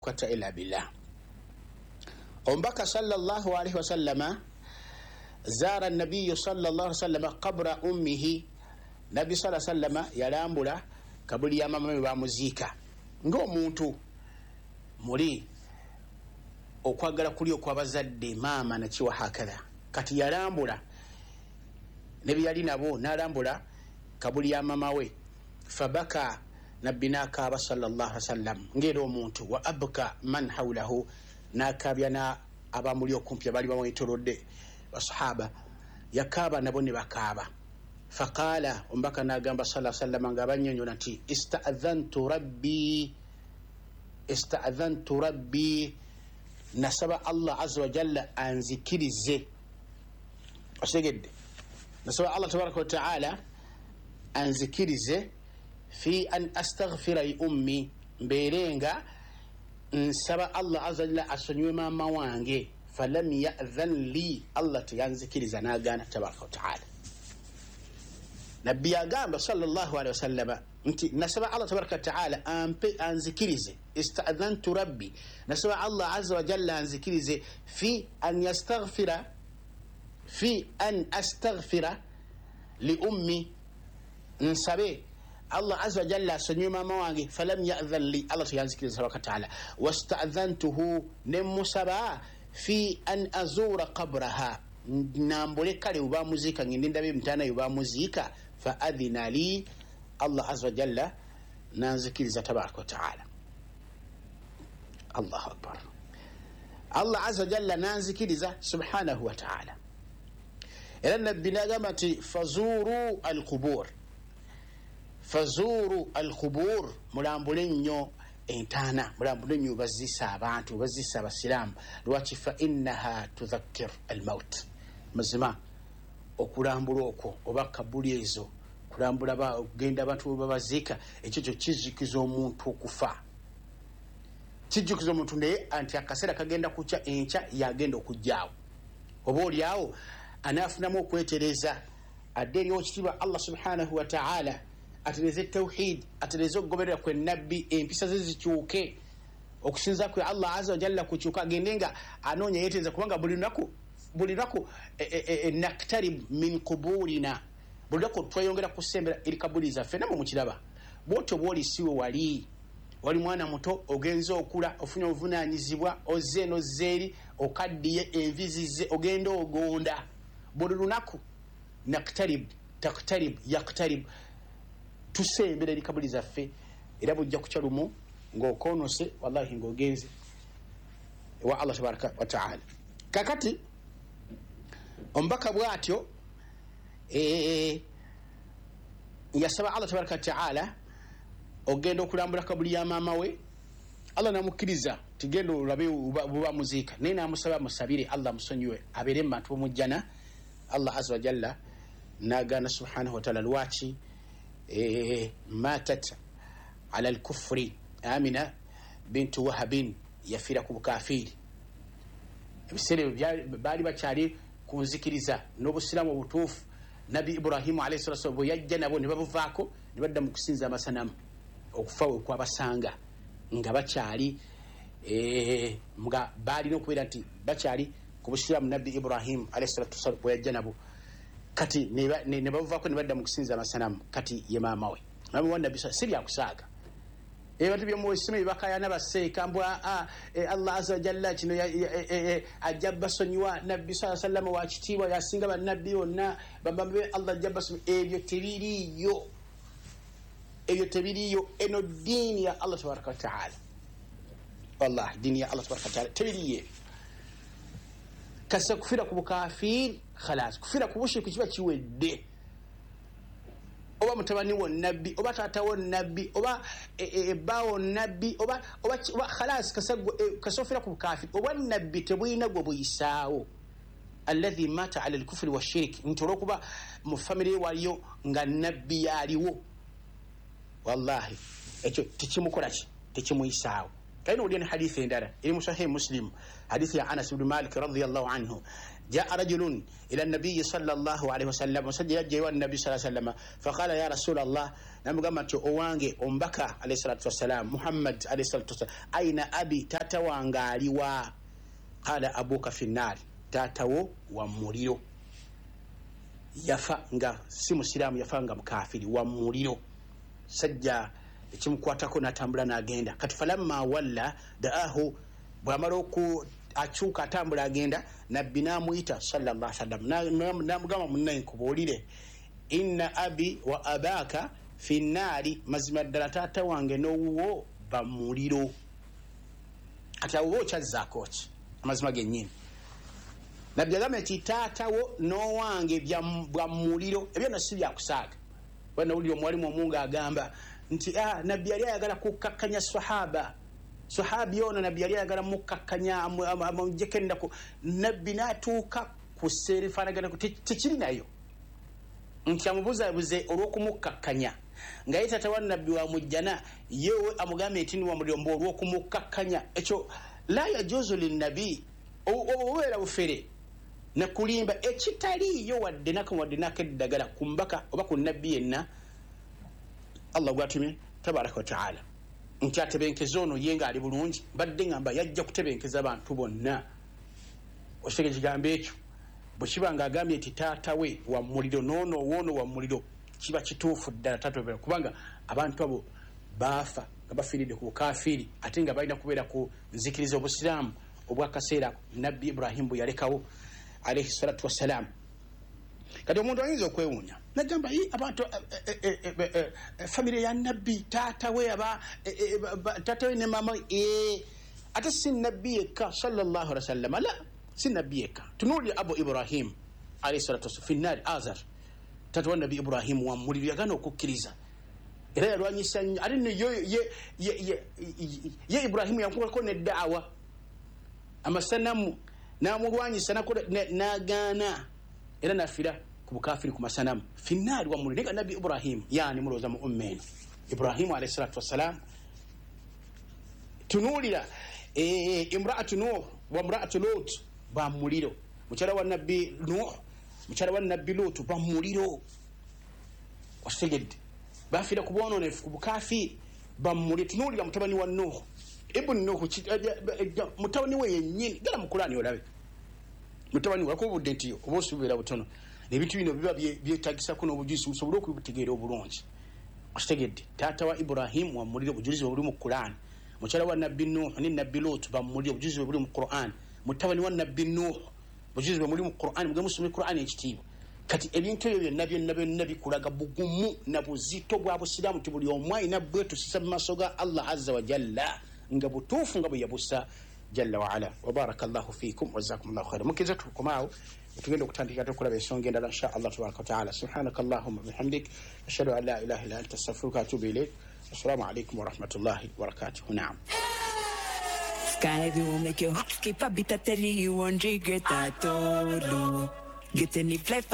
Quwwata illa billah. Omubaka sallallahu alaihi wasallama, zaara nabiyu sallallahu alaihi wasallama qabra ummihi, nabbi sa sallama yalambula kabuli ya mama we bamuziika. Ng'omuntu muli okwagala kuli okwabazadde, maama nakiwa hakatha. Kati yalambula ne byeyali nabo, n'alambula kabuli ya mama we. Fabaka, nabbi n'akaaba sallallahu alaihi wasallam ng'era omuntu, wa abka man haulahu, n'akaabya na abamuli okumpi abaali bamwetolodde, basahaba. Yakaaba nabo ne bakaaba. Faqaala, omubaka n'agamba sa sallama nga abanyonyola nti istadhantu rabbi, istadhantu rabbi, nasaba Allah aza wajalla anzikirize. Okitegedde? Nasaba Allah tabaraka wataala anzikirize fi an astaghfira li ummi, mbeere nga nsaba Allah aza wajalla asonyiwe maama wange. Falam yadhan li, Allah teyanzikiriza, nagaana tabaraka wataala. Nabbi yagamba sallallahu alehi wasallama nti nasaba Allah tabaraka wataala ampe, anzikirize. Istadhantu rabbi, nasaba Allah aza wajalla anzikirize fi an yastaghfira, fi an astaghfira li ummi, nsabe Allah aza wajalla asonyiwe maama wange. Falam yadhan li, Allah teyanzikiriza tabaraka wataala. Wastadhantuhu, nemusaba fi an azura qabraha, nambule kale webamuziika, ngende ndabe emitaana webamuziika. Fa adhina li, Allah aza wajalla nanzikiriza tabaraka wataala. Allahu akbar! Allah aza wajalla nanzikiriza subhanahu wataala. Era nabbi nagamba nti fazuru alqubur, fazuru alqubur, mulambule nnyo entaana, mulambule nnyo bazisa abantu, bazisa abasiraamu. Lwaki? Fa innaha tudhakkir almaut. Mazima okulambula okwo oba kabuli ezo, kulambula okugenda abantu webabaziika, ekyo kyo kizikiza omuntu okufa, kijjukiza omuntu naye nti akaseera kagenda kukya, enkya yagenda okujjaawo. Oba oliawo anaafunamu okwetereza, adde eri okitiibwa Allah subhanahu wataala, atereze tawhid, atereze okugoberera kwe nabbi, empisa ze zikyuke, okusinza kwe Allah aza wajalla kukyuka, agende nga anoonya yetereza, kubanga buli lunaku, buli lunaku naktarib min kuburina, buli lunaku tweyongera kusembera eri kabuli zaffe. Namwe mukiraba bwotyo bwoli siwe wali wali mwana muto, ogenze okula, ofunye obuvunanyizibwa, ozze nozze eri, okaddiye, envi zizze, ogenda ogonda. Buli lunaku naktarib, taktarib, yaktarib, tusembera eri kabuli zaffe. Era bujja kukya lumu ng'okonose, wallahi, ng'ogenze ewa Allah tabaraka wataala. Kakati omubaka bw'atyo yasaba Allah tabaraka wataala ogenda okulambula kabuli ya maama we. Allah namukkiriza, tigenda olabe buba muziika, naye namusaba musabire Allah musonyiwe, abeere mu bantu bomujjana. Allah aza wajalla nagaana subhanahu wataala. Lwaki? Matat ala lkufri, Amina bintu Wahabin yafiira ku bukafiiri. Ebiseera ebyo baali bakyali ku nzikiriza n'obusiraamu obutuufu. Nabbi Ibrahimu alaihi salatu wasalam bwe yajja nabo ne babuvaako ne badda mu kusinza amasanamu. Okufa we kwabasanga nga bakyali nga baalina okubeera nti bakyali ku busiraamu. Nabbi Ibrahimu alaihi salatu wasalam bwe yajja nabo, kati ne babuvaako ne badda mu kusinza amasanamu. Kati ye maama we, maama wa nabbi. Si byakusaaga ebintu byomuwesima byebakayana baseeka mbw Allah aza wajalla kino ajja basonyiwa, nabbi saa sallama wakitiibwa, yasinga bannabbi bonna, bambabe, Allah ajja basonyiwa. Ebyo tebiriiyo, ebyo tebiriiyo. Eno diini ya Allah tabaraka wataala, wallahi diini ya Allah tabaraka wataala, tebiriiyo ebyo. Kasa kufiira ku bukafiiri, khalas, kufiira ku bushiriku kiba kiwedde. Oba mutabani wo nabbi, oba taata wo nabbi, oba ebbawo nabbi, oba khalas, kasa ofiira ku bukafiri, oba nabbi tebulina gwe buyisaawo. Alladhi mata ala lkufuri washirik, nti olwokuba mu famire waliyo nga nabbi yaliwo, wallahi ekyo tekimukolaki, tekimuyisaawo. Kalina owulira ne hadithi endala eri mu Sahihi Muslim, hadithi ya Anas ibnu Malik radiallahu anhu. Jaa rajulun ila nabiyi sallallahu alaihi wasallam, omusajja yajja ewa nabbi saa sallama, faqala ya rasula llah, namugamba nti owange omubaka alaihi salatu wassalam, Muhammad alaihi salatu wassalam, aina abi, taata wange aliwa? Qala abuka fi nnaari, taatawo wa muliro, yafa nga si musiraamu, yafa nga mukafiri, wa muliro. Sajja ekimukwatako natambula nagenda. Kati falamma walla daahu, bwamala oku akyuka atambula agenda, nabbi namuyita sallallahu sallam, namugamba munnaye nkubuulire, inna abi wa abaka fi nnaari, mazima ddala taata wange n'owuwo bamuliro. Kati awo oba okyazzaako ki amazima gennyini? Nabbi agambye nti taatawo n'owange bwa muliro, ebyo nno si byakusaaga. Banawulira omuwalimu omu ng'agamba nti nabbi yali ayagala kukakkanya sahaba, sahabi ono nabbi yali ayagala mukakkanya amujjeko ennaku, nabbi n'atuuka ku seerifaanagana tekiri nayo nti amubuzabuze olw'okumukakkanya, nga ye taata wa nabbi wa mujjana, yewe amugambye nti wa muliro mbu olw'okumukakkanya. Ekyo la yajuzu linnabi, obubeera bufere nakulimba ekitaliiyo wadde nakamu wadde nakeddagala ku mbaka oba ku nabbi yenna Allah gwatumye tabaraka wataala nti atebenkeza ono ye ngaali bulungi. Mbadde ngamba yajja kutebenkeza abantu bonna. Okitege ekigambo ekyo bwe kiba nga agambye nti taata we wa muliro noono owoono wa muliro, kiba kituufu ddala tatobera, kubanga abantu abo baafa nga bafiiridde ku bukafiiri, ate nga balina kubeera ku nzikiriza obusiraamu obwakaseera nabbi Ibrahimu bwe yalekawo alaihi salatu wassalam. Kati omuntu ayinza okwewuunya nagamba abantu famire ya nabbi, taata we taata we ne maama we, ate si nabbi yekka sallallahu alaihi wasallam, la si nabbi yekka. Tunuulira abu Ibrahim alaihi salatu wassalam finnaari, Azar taata wa nabbi Ibrahimu wa muliro, yagaana okukkiriza era yalwanyisa nnyo. Ate nno ye Ibrahimu yamukolako neddaawa amasanamu namulwanyisa nagaana era nafira ku bukafiri ku masanamu finnaari wa muliro. Naye nabbi Ibrahimu yani mulowooza mu umma eno Ibrahimu alaihi salatu wassalam. Tunuulira imraatu Nuh wa imraatu Lut ba muliro, mukyala wa nabbi Nuh, mukyala wa nabbi Lut ba muliro. Okitegedde? Bafiira ku bwononefu ku bukafiri ba muliro. Tunuulira mutabani wa Nuh, ibn Nuh, mutabani we yennyini, gala mu Kulaani olabe mutabani we akubudde nti oba osuubira butono, ebintu bino biba byetagisako n'obujulizi musobole okubitegeera obulungi. Okitegedde? Taata wa Ibrahimu wa muliro, obujulizi bwe buli mu Kulaani. Mukyala wa nabbi Nuh ne nabbi Lut ba muliro, obujulizi bwe buli mu Qur'an. Mutabani wa nabbi Nuh, obujulizi bwe buli mu Qur'an. Muge musome Qur'an ekitiibwa. Kati ebintu ebyo byonna byonna byonna bikulaga bugumu na buzito bwa busiraamu nti buli omu alina bwetusisa mu maaso ga Allah azza wa jalla nga butuufu nga bwe yabusa jalla waala. Wa barakallahu fiikum wa jazakumullahu khaira. Mukkiriza tukomaawo tugenda okutandika okulaba ensonga endala insha Allah tabaraka wataala. Subhanaka allahumma bihamdik, ashhadu an la ilaha illa anta, astaghfiruka wa atubu ilaik. Assalamu alaikum warahmatullahi wabarakatuh. Naam. Sky will make your heart skip a beat. I tell you, you won't regret at all. Get any flight.